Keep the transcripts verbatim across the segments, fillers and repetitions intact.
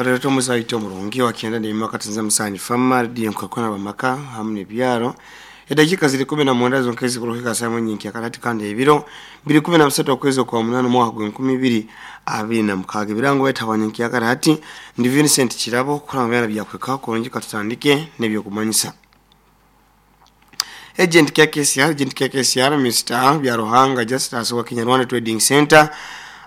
Batata omuzaito omurungi wakyenda n'emyaka tinza musanju fama rediyo nkakona bamaka hamu n'ebyaro. Edakika ziri kumi na mwenda zonka ezikuruhika saa nyingi akati kandi ebiro biri kumi na bisatu okwezi kwa munana omwaka gw'enkumi ibiri abiri na mukaaga. Ebirango betabanya hati ndi Vincent Kirabo kuranga byana byakweka kurungi katutandike n'ebyokumanyisa. Agent K K C R, Agent K K C R Mister Byaruhanga Justus wa Kinyarwanda Trading Center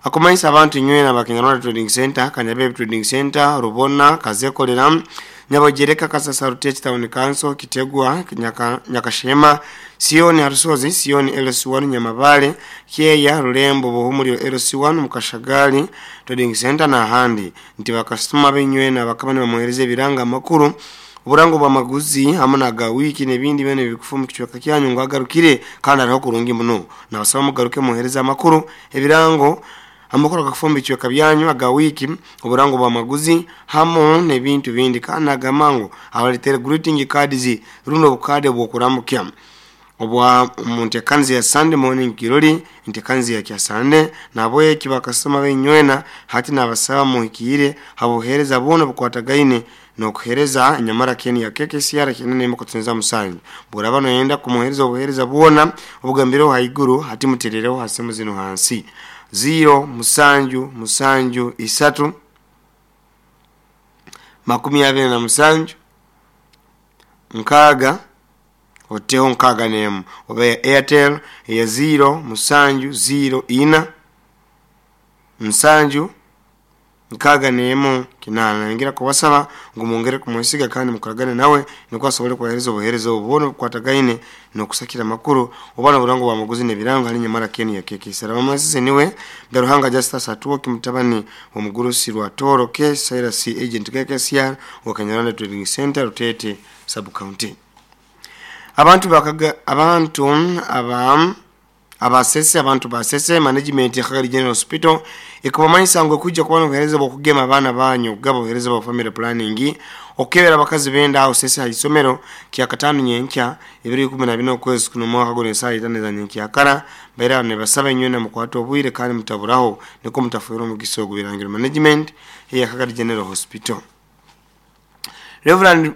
akumanyisa abantu nywena ba Kinyarwanda Trading Center, Kanyabe Trading Center, Rubona, Kazekolera, Nyabogereka, Kasasa, Rutech Town Council, Kitegwa, Nyaka, Nyakashema, Sioni Harusozi, Sioni L C one, Nyamabale, Kyeya, Rulembo, Buhumuliro L C one, Mukashagali Trading Center na ahandi. Nti bakasitoma benywena bakaba nibamuhereza ebiranga amakuru oburango bw'amaguzi hamwe na ga wiki n'ebindi byona ebikufa mu kicweka kyanyu ngo agarukire kandi ariho kurungi muno. Nabasaba mugaruke muhereza amakuru ebirango amakuru agakufumba ekicweka byanyu aga wiki oburango bw'amaguzi hamwe n'ebintu bindi kandi agamango abaletere greeting cards runo obukade bw'okuramukya obwa muntekanzi ya Sunday morning kirori ntekanzi ya kya Sunday nabwe kibakasoma benywena hati nabasaba muhikire habuhereza bona bukwatagaine nokuhereza nyamara keni ya K K C R kinene mukutunza musanju buraba noyenda kumuhereza obuhereza bwona obugambiro haiguru hati muterereho hasemu zino hansi zero musanju musanju isatu makumi abiri na musanju nkaga oteho nkaga nemu oba ya Airtel ya zero musanju zero ina musanju nkaga nemu kinana. Ngira kubasaba ngo mungere kumwesiga kandi mukoragane nawe niko asobole kuhereza obuhereza obubona bukwatagaine nokusakira makuru obana burango bwa maguzi n'ebirango hali nyamara keni ya K K C R. Mama niwe Byaruhanga Justus atuwo kimutabani omugurusi rwa Toro K Cyrus agent K K C R wa Kanyarwanda Trading Center Rutete sub county. Abantu bakaga abantu aba abasese abantu basese management ya Kagari General Hospital ikubamanyisa ngo kujja kubona obuhereza bw'okugema abaana banyu gabo obuhereza bwa family planning okebera abakazi benda aho sese haisomero kya katano nyenkya ebiri ikumi na bina okwezi kuno mwaka guno esaa itano za nyenkya kara baira ne basaba nywena mukwata obwire kandi mutaburaho niko mutafuira omugisa ogubirangiro management ya Kagari General Hospital. Reverend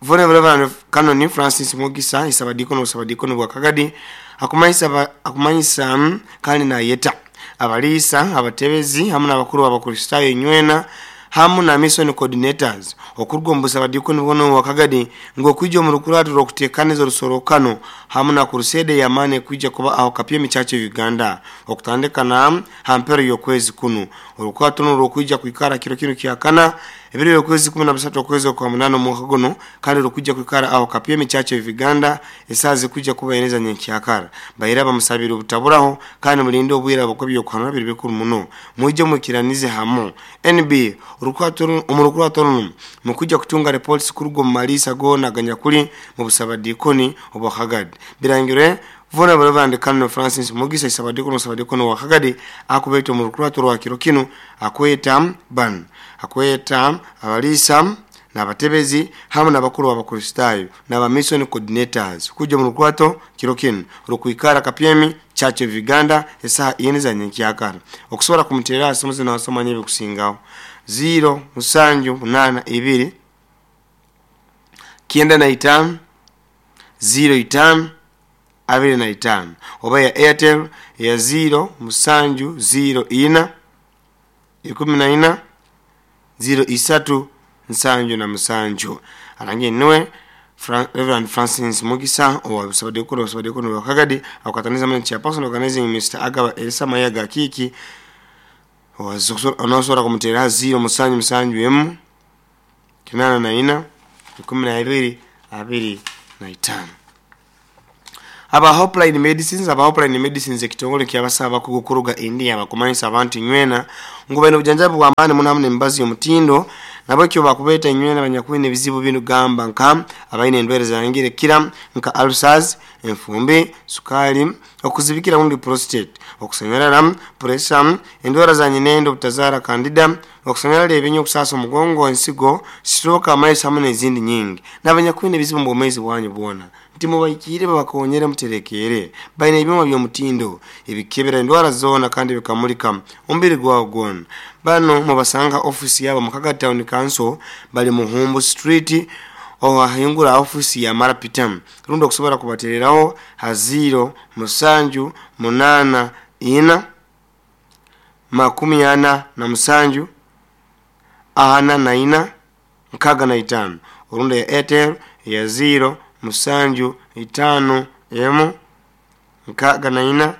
Reverend Canon Francis Mugisa isabadiko no sabadiko no bwakagadi akumanyisa akumanyisa kandi na yeta abalisa abatebezi hamwe n'abakuru b'abakristayo nywena hamu na mission coordinators okurwa mbusabadiko nibono wakagadi ngo kwijja mu rukuratu rokutekaniza rusorokano hamu na crusade ya mane kwijja kuba aho kapye michache Uganda okutandika na hampero yokwezi kuno urukwatu no rokwijja kwikara kiro kino kyakana ebiri yokwezi kumi na bisatu okwezi kwa munano mwaka guno kandi rokwijja kwikara aho kapye michache Uganda esaze kwijja kuba eneza nyenkyakara bayira bamusabira obutaburaho kandi mulinde obwira bukobyo kwanura biri bikuru muno mujye mukiranize hamu N B urukwatu umurukwatu mukujja kutunga reports kurugo malisa gona ganyakuli mu busabadikoni obwakagadi birangire vona Reverend Canon Francis Mugisa isabadiko no sabadiko no wakagadi akubeto mu rukwatu rwa kiro kino akweta ban akweta abalisa n'abatebezi hamwe n'abakuru b'abakristayo n'aba mission coordinators kujja mu rukwato kiro kino rukwikara kapyemi Church of Uganda esaha ine za nyenkyakara okusobola kumuterera asomoze n'asoma ebikusingaho zero musanju munana ibiri kyenda na itano zero itano abiri na itano oba ya Airtel ya zero musanju zero ina ikumi na ina zero isatu nsanju na musanju. Arangi niwe Fran, Reverend Francis Mugisa owa busabadiko busabadiko no wakagadi akataniza mwe chairperson organizing Mister Agaba Elsa Mayaga Kiki onosora kumutera zero musanju musanju emu kinana na ina ikumi na ibiri abiri na itano. Aba Hopeline Medicines aba Hopeline Medicines ekitongole kyabasaba kugukuruga India bakumanyisa abantu nywena ngo bene obujanjabi bwa maani muno hamwe n'embazi y'omutindo nabo kyo bakubeta nywena banyakwine ebizibu binu gamba nka abaine endwere zangire kira nka ulcers, enfumbi, sukali, okuzibikira undi prostate, okusanyalala, pressure, endwara za nyinendo butazara candida, okusanyalala ebinyo okusasa omugongo, ensigo, stroke, amaiso hamwe n'ezindi nyingi. N'abanyakwine ebizibu mu bwomezi bwanyu bwona. Nti mubaikire babakonyere muterekere. Baina ebyuma by'omutindo ebikebera endwara zoona kandi bikamulika omubiri gwawo gwona. Bano mubasanga ofisi yabo Mukaga Town Council, bali Muhumbu Street, ohahingura ofisi ya Marapita. Rundi okusobola kubatereraho ha ziro musanju munana ina makumi ana na musanju ana na ina nkaga na itano. Orundi ya Airtel ya ziro musanju itano emu nkaga na ina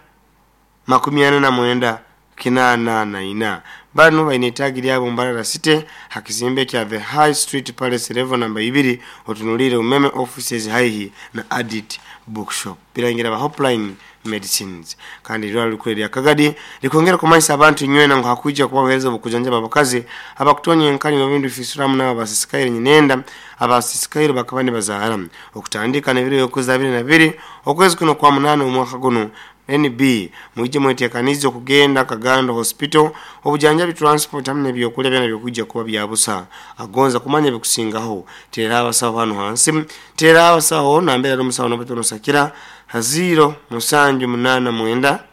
makumi ana na mwenda kinana na ina. Bano baina itagi lyabo Mbarara City hakizimbe kya The High Street Palace level namba ibiri, otunulire Umeme offices haihi na Adit Bookshop. Birangira ba Hotline Medicines. Kandi irwaro likuru lya Kagadi likongera kumanyisa abantu nywena ngo hakuija kubahereza obukujanjaba abakazi abakutonya enkali n'ebindu fisuramu n'abo abasisikaire nyinenda abasisikaire bakaba nibazaara okutandika n'ebiro y'okwezi abiri na biri okwezi kuno kwa munana omwaka guno. N B mwije mwetekanize okugenda Kagando Hospital obujanjabi transport hamwe n'ebyokulya byana byokujja kuba bya busa. Agonza kumanya bikusingaho tera abasawo hano hansi, tera abasawo nambera n'omusawo n'obatono sakira ha ziro musanju munana mwenda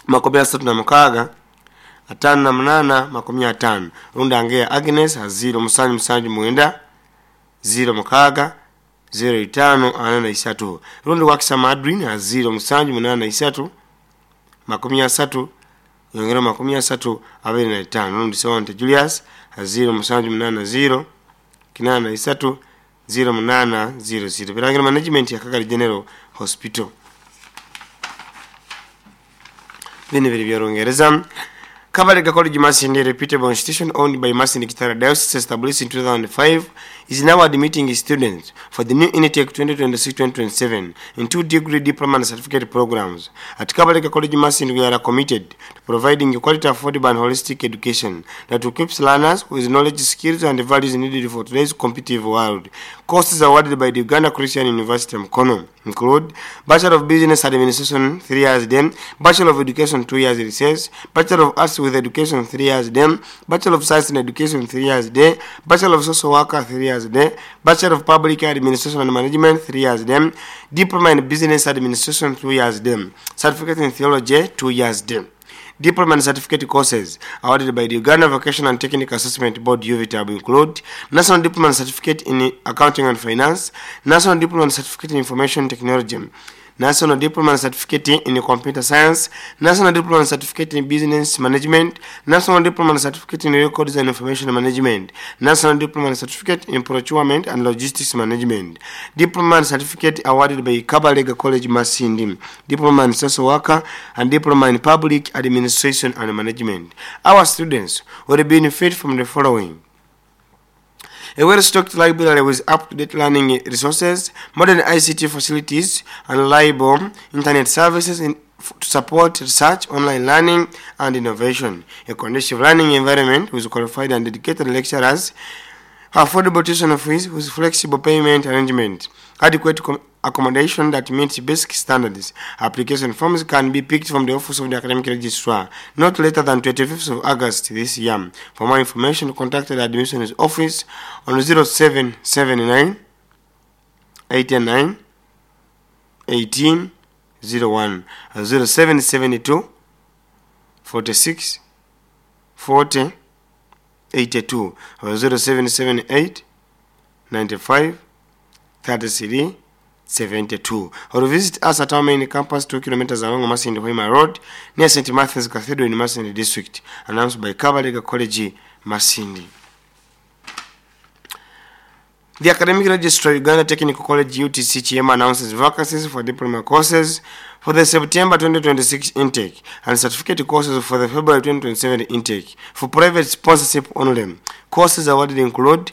makumi asatu na mukaga atano na munana makumi atano. Runda angea Agnes ha ziro musanju musanju mwenda ziro mukaga zero itano ana na isatu. Rundi wakisa Madrid ha ziro musanju munana isatu makumi asatu yongera makumi asatu abiri na itano. Rundi Sewante Julius ha ziro musanju munana ziro kinana na isatu ziro munana ziro ziro. Birangira management ya Kagadi General Hospital. Bino biri bya Kabalega College Masindi, reputable institution owned by Masindi Kitara Diocese, established in two thousand five, is now admitting students for the new intake twenty twenty-six twenty twenty-seven in two degree diploma and certificate programs. At Kabalega College Masindi, we are committed to providing quality, affordable and holistic education that equips learners with knowledge, skills and values needed for today's competitive world. Courses awarded by the Uganda Christian University Mukono include Bachelor of Business Administration three years then, Bachelor of Education two years research, Bachelor of Arts with Education three years then, Bachelor of Science in Education three years then, Bachelor of Social Worker three years then, Bachelor of Public Administration and Management three years then, Diploma in Business Administration two years then, Certificate in Theology two years then. Diploma and certificate courses awarded by the Uganda Vocational and Technical Assessment Board U V T A B include National Diploma and Certificate in Accounting and Finance, National Diploma and Certificate in Information Technology, National Diploma and Certificate in Computer Science, National Diploma and Certificate in Business Management, National Diploma and Certificate in Records and Information Management, National Diploma and Certificate in Procurement and Logistics Management, Diploma and Certificate awarded by Kabalega College Masindi, Diploma in Social Worker, and Diploma in Public Administration and Management. Our students will benefit from the following: a well-stocked library with up-to-date learning resources, modern I C T facilities, and reliable internet services in, to support research, online learning, and innovation. A conducive learning environment with qualified and dedicated lecturers, affordable tuition fees with flexible payment arrangement, adequate accommodation that meets basic standards. Application forms can be picked from the office of the academic registrar not later than twenty-fifth of August this year. For more information, contact the admissions office on zero seven seven nine eight nine eighteen zero one, zero seven seven two forty-six forty eighty-two, or zero seven seven eight ninety-five thirty-three seventy-two, or visit us at our main campus two kilometers along Masindi Hoima Road near Saint Matthew's Cathedral in Masindi District. Announced by Kabalega College Masindi. The Academic Registrar, Uganda Technical College U T C Kyema, announces vacancies for diploma courses for the September twenty twenty-six intake and certificate courses for the February twenty twenty-seven intake for private sponsorship only. Courses awarded include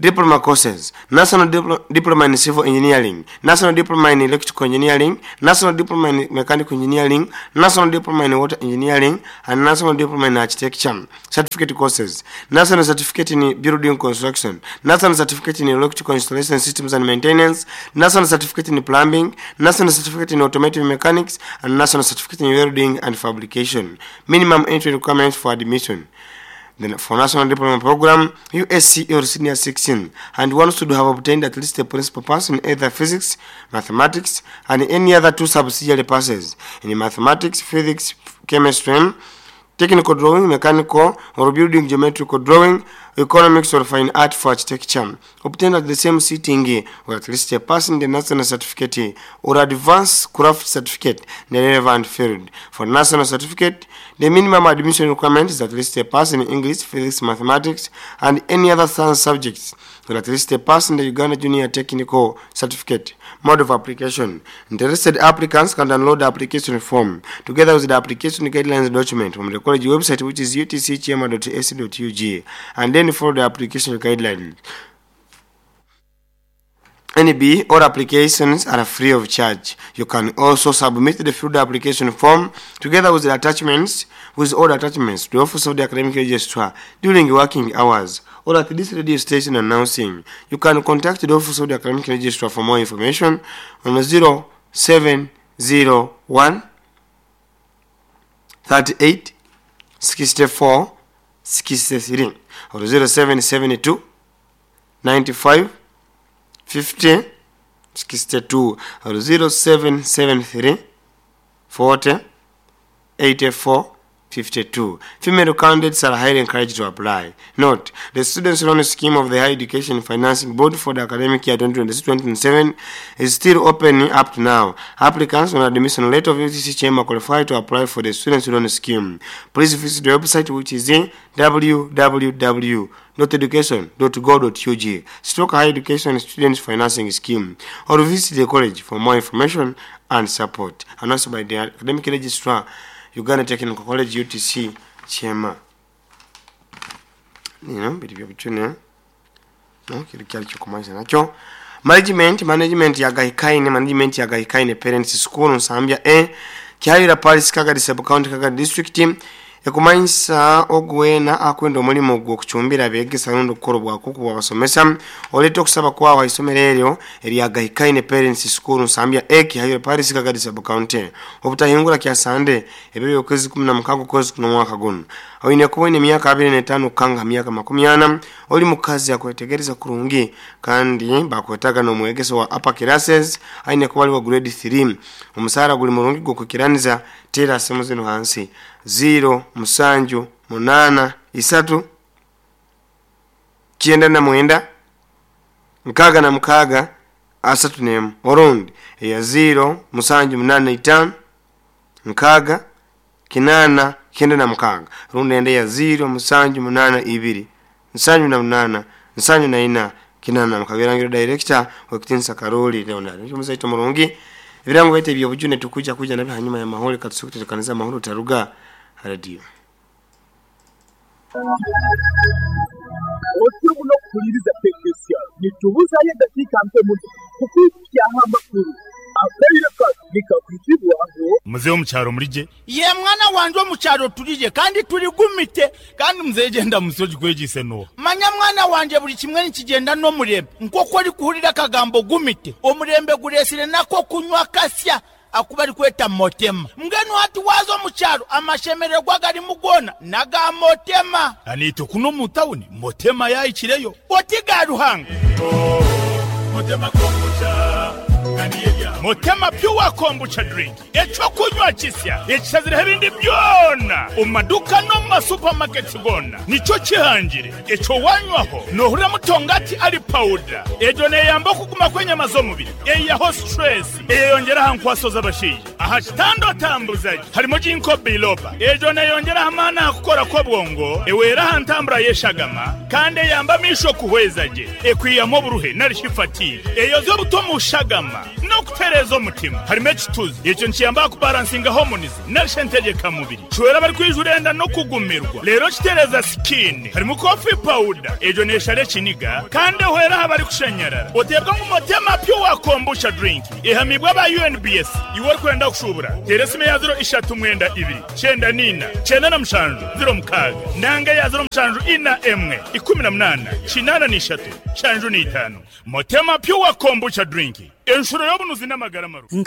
diploma courses, National Dipl- Diploma in Civil Engineering, National Diploma in Electrical Engineering, National Diploma in Mechanical Engineering, National Diploma in Water Engineering, and National Diploma in Architecture. Certificate courses, National Certificate in Building Construction, National Certificate in Electrical Installation Systems and Maintenance, National Certificate in Plumbing, National Certificate in Automotive Mechanics, and National Certificate in Welding and Fabrication. Minimum entry requirements for admission: Then for National Diploma Program, U S C or Senior sixteen, and one should have obtained at least a principal pass in either physics, mathematics, and any other two subsidiary passes in mathematics, physics, chemistry, technical drawing, mechanical or building geometrical drawing, economics or fine art for architecture. Obtained at the same sitting or at least a pass in the national certificate or advanced craft certificate in the relevant field. For national certificate, the minimum admission requirement is at least a pass in English, physics, mathematics, and any other science subjects, or at least a pass in the Uganda Junior Technical Certificate. Mode of application. Interested applicants can download the application form together with the application guidelines document from the college website, which is U T C kyema dot A C dot U G, and then follow the application guidelines. N B, all applications are free of charge. You can also submit the filled application form together with the attachments, with all the attachments to the Office of the Academic Registrar during working hours or at this radio station announcing. You can contact the Office of the Academic Registrar for more information on zero seven zero one thirty-eight sixty-four sixty-three or zero seven seven two ninety-five fifty sixty-two or zero seven seven three forty eighty-four fifty-two. Female candidates are highly encouraged to apply. Note, the Students' Loan Scheme of the Higher Education Financing Board for the academic year twenty twenty-six twenty twenty-seven is still open up to now. Applicants on admission letter of U T C Kyema qualify to apply for the Students' Loan Scheme. Please visit the website, which is w w w dot education dot gov dot U G stroke Higher Education Students Financing Scheme, or visit the college for more information and support. Announced by the Academic Registrar, Uganda Technical College, U T C Kyema. Nino biri byo bichune. No kiri kyali kyokumanisa nakyo. Management, management ya Gahikaine, management ya Gahikaine Parents School Nsambya A, Kyayira Parish, Kagadi Sub County, Kagadi District. Ekumanyisa ogwena akwenda omulimu gw'okucumbira abeegesa rundi okukora obwakuku bwabasomesa oleeta okusaba kwawo ha isomero eryo erya Gahikaine Parents School Nsambya A, Kyayira Parish, Kagadi Sub County. Obutahingura kya Sande ebiro by'okwezi kumi na mukaaga okwezi kuno omwaka guno. Oine kuba oine emyaka abiri n'etaano kukanga myaka makumi ana, oli mukazi akwetegereza kurungi kandi bakwetaga n'omwegesa wa upper classes aine kuba ali wa grade three. Omusaara guli murungi gw'okwikiraniza. Tera simu zino hansi zero musanju munana isatu kyenda na mwenda nkaga na mukaga asatu nemu, orundi eya zero musanju munana itano nkaga kinana kyenda na mukaga, rundi ende ya zero musanju munana ibiri nsanju na munana nsanju na ina kinana na mukaga. Erangiro director wekitinsa Karoli Leonard muzaito murungi. Ebirango baite ebyobujune tukuja kuja nabyo hanyuma ya mahoro katusukuterekaniza amahoro taruga radio. Otyo muno kukuliriza pekesya nitubuzayo eddakiika mpe muno kukuukyaho amakulu akaire nikakukibwaho. Muzehe omukyaro mulije ye mwana wanje omukyaro tulije kandi tuligumite kandi muzehe genda musoji kwegise no manya mwana wanje buli kimwe nikigenda n'omurembe nk'oku orikuhurira akagambo gumite omurembe guresire nako kunywa kasya akuba arikweta motema mbwenu hati waza omukyaro amashemererwa garimu gona naga motema anito kuno mu tawuni motema yayikireyo oti ga Ruhanga motema kombucha Motema pure kombucha drink ekyokunywa kisya ekisazire ebindi byona omumaduka no mu masupamaketi gona nikyo kihangire ekyo wanywaho nohurira mutongati ali powder egyo neyamba okuguma kw'enyama z'omubiri eyaho stress eyeyongera aha nkwaso z'abashaija aha kitanda otambuzaje harimo ginkgo biloba egyo neyongera aha maani aha kukora kw'obwongo ewera aha ntambura y'eshagama kandi eyamba amisho kuhweza gye ekwiyamu oburuhe nari fatigue eyoza obuto mu shagama nokutereza omutima harimo ekituzi ekyo nkiyamba kubalansinga hormones narishe ntegeka mubiri kiwera bari kwijurenda no kugumirwa rero kitereza skin harimo coffee powder egyo neshara ekiniga kandi ehwera aha bari kushanyarara otebwa ngu motema pure kombucha drink ehamibwa aba U N B S iwe orikwenda kushubura tera esimu ya zero ishatu mwenda ibiri kyenda nina kyenda na mushanju zero mukaaga nanga ya zero mushanju ina emwe ikumi na munana kinana n'ishatu shanju n'itano motema pure kombucha drink enshuro y'obunuzi n'amagara maru.